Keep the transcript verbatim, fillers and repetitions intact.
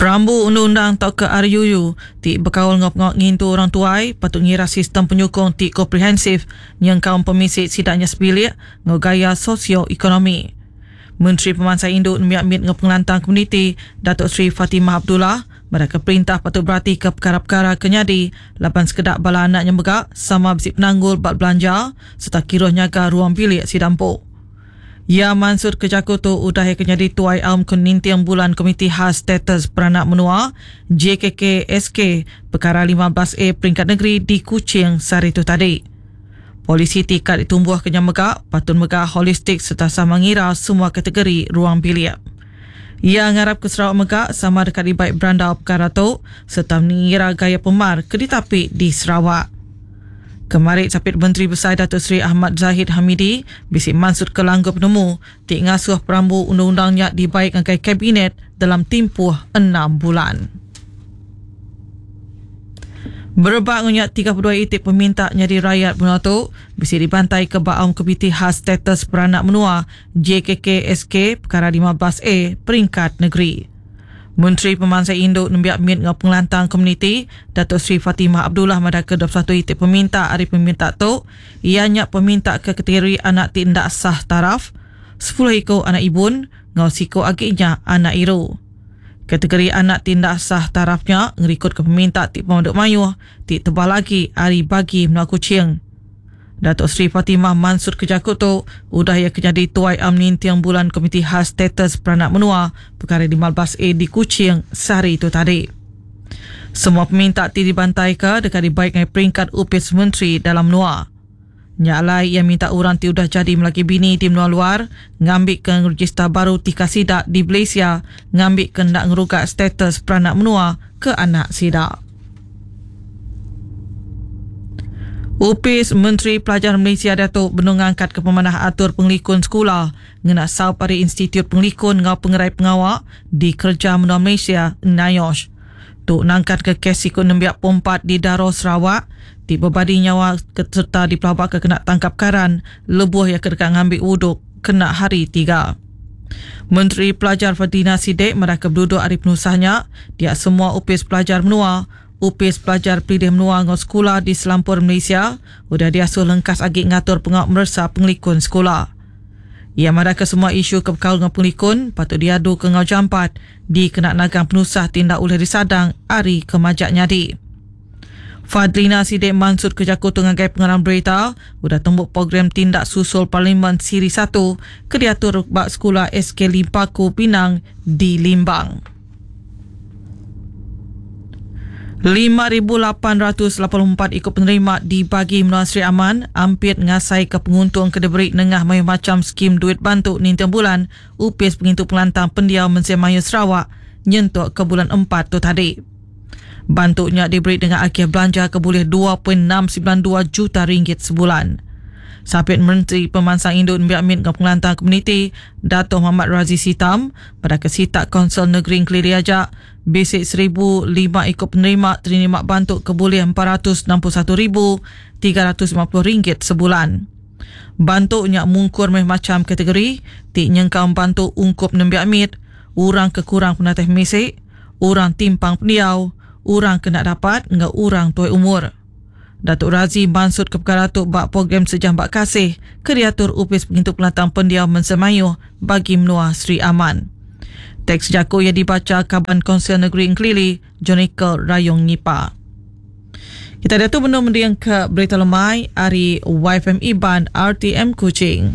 Perambu Undang-Undang tauka R U U ti bekaul enggau pengawa ngintu orang tuai patut ngira sistem penyukung ti komprehensif nyengkaum pemisi sidaknya sebilik enggau gaya sosioekonomi. Menteri Pemansang Indu Nembiak Mit enggau Pengelantang Komuniti Datuk Seri Fatimah Abdullah mereka perintah patut berati ke perkara-perkara ke nyadi laban sekedak bala anaknya mega sama bisi penanggul bak belanja serta kiruh nyaga ruang bilik sidampu. Ya Mansur Kejaku tu udah yang kenyadi tuai aum keninting bulan Komiti Khas Status Peranak Menua J K K S K Perkara lima belas A Peringkat Negeri di Kuching sehari tu tadi. Polisi tikat ditumbuh kenyang mega patut mega holistik serta sama ngira semua kategori ruang bilik. Ia ngarap ke Sarawak mega sama dekat dibaik berandau perkara tu serta mengira gaya pemar ke ditapi di Sarawak. Kemarin Sapit Menteri Besar Datuk Seri Ahmad Zahid Hamidi bisi mansut ke langgur penemu ti ngasuh perambu undang-undangnya dibaik ngagai kabinet dalam tempoh enam bulan. Berebak ngunyak tiga puluh dua itik peminta nyadi rakyat menua tu bisi dibantai ke Baum Komiti Khas Status Peranak Menua J K K S K Perkara lima belas A Peringkat Negeri. Menteri Pemansang Induk Nembiak Mit enggau Pengelantang Komuniti Datuk Seri Fatimah Abdullah madahka dua puluh satu itik peminta ari peminta tu ianya peminta ke kategori anak ti ndak sah taraf, sepuluh iku anak ibun enggau siku agi nya anak iru. Kategori anak ti ndak sah tarafnya ngerikut ke peminta ti pemadu mayuh ti tebal lagi ari bagi menua Kuching. Datuk Seri Fatimah Mansur Kejaku tu udah ia kenyadi tuai am ninting bulan Komiti Khas Status Peranak Menua Perkara lima belas A di Kuching sehari itu tadi. Semua peminta ti dibantai ke dekat dibaik dengan peringkat upis menteri dalam menua. Nyalai ia minta orang ti udah jadi melaki bini di menua luar ngambil ke register baru tika sidak di Malaysia ngambil ke nak ngerugat status peranak menua ke anak sidak. Upis Menteri Pelajar Malaysia Datuk benung ngangkat ke pemanah atur pengelikun sekolah ngena saup ari Institut Pengelikun ngau Pengerai Pengawak di Kerja Menua Malaysia NIOSH. Tu nangkat ke kes ikut nembiak pompat di Daro Sarawak ti berbadi nyawa serta dipelabak ke kena tangkap karan lebuh yang kedekat ngambil wuduk kena hari tiga. Menteri Pelajar Fadhlina Sidek mereka berduduk hari penusahnya dia semua upis pelajar menua Upis Pelajar Pilih Menua ngau sekolah di Selampur Malaysia udah diasuh lengkas agi ngatur pengawak meresa pengelikun sekolah. Ia marah ke semua isu kebekal ngau pengelikun patut diadu ke ngau jampat di kena nagang penusah tindak oleh disadang ari kemajak nyadi. Fadhlina Sidek Mansud Kejaku Tungagai Pengarang Berita udah tembuk program tindak susul Parlimen Siri satu ke diatur bak sekolah S K Limpaku Pinang di Limbang. lima ribu lapan ratus lapan puluh empat ikut penerima dibagi Menua Sri Aman ampit ngasai ke penguntung ke diberi nengah mayu macam skim duit bantu nintiang bulan upis pengintu pengelantang pendiau Mensia Mayu Sarawak nyentuk ke bulan empat tu tadi. Bantunya diberi dengan akhir belanja ke boleh dua perpuluhan enam sembilan dua juta ringgit sebulan. Sapit Menteri Pemansang Induk Nembiak Mit enggau Pengelantang Komuniti Dato' Muhammad Razi Sitam pada kesitak Konsel Negeri Keliri Ajak bisik seribu lima ikut penerima terima bantu ke boleh empat ratus enam puluh satu ribu tiga ratus lima puluh ringgit sebulan. Bantunya mungkur meh macam kategori ti nyengkau bantu ungkup nembiak mit, orang kekurang penatih misik, orang timpang pendiau, orang kena dapat enggau orang tuai umur. Datuk Razi mansut ke perkara tu bak program Sejam Bak Kasih ke diatur Upis Pengintu Pengelantang Pendiau Mensemayu bagi Menua Sri Aman. Teks jaku yang dibaca Kaban Konsel Negeri Engkelili, Jonikel Rayong Ngipa. Kita dah tu benar mendiang ke Berita Lemai ari Y F M Iban R T M Kuching.